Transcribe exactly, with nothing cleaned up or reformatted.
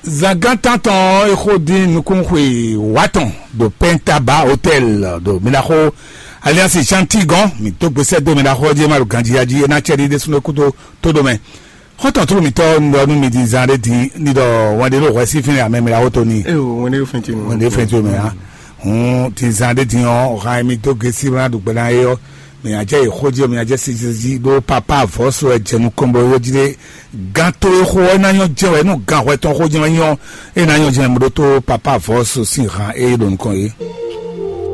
Zangán tántɔn ɔ́, é xó dín nukúnxwe wǎtɔn ɖo Pɛntaba Hotɛl ɖo Mìɖaxó Aliansi Shanti gɔ́n. Mǐ dó gbesɛ dó Mìɖaxó ɔ́ jí, é má ɖo ganjí ya jí, é ná cɛ ɖi ɖésúnɔ kúdó tó ɖo mɛ. Xɔ́ntɔn tlú mǐtɔn un ɖɔ nú mi din zan ɖé din ní ɖɔ wɛn ɖé ɖo hwɛ sín fínɛ́ amɛ Mìɖaxó tó ní. Ee, wɛn ɖé fɛn ce nɔ. Wɛn ɖé fɛn ce mɛ á. Hun din zan ɖé din ɔ́, hǎn mi dó gesi ná ɖu gbɛ ná é ɔ́, mǐ ná jɛ yi xó jí, mǐ ná jɛ sisi jí ɖó papa avɔ̌ so wɛ jɛ nukɔn bɔ yó jí ɖé. Gán tó e xó ɔ́ ná nyɔ́ jɛ wɛ nú gán hwɛ tɔn xó jɛ wɛ nyɔ́, é ná nyɔ́ jɛ mɛ ɖótó papa avɔ̌ so sín hǎn é ɖo nukɔn é.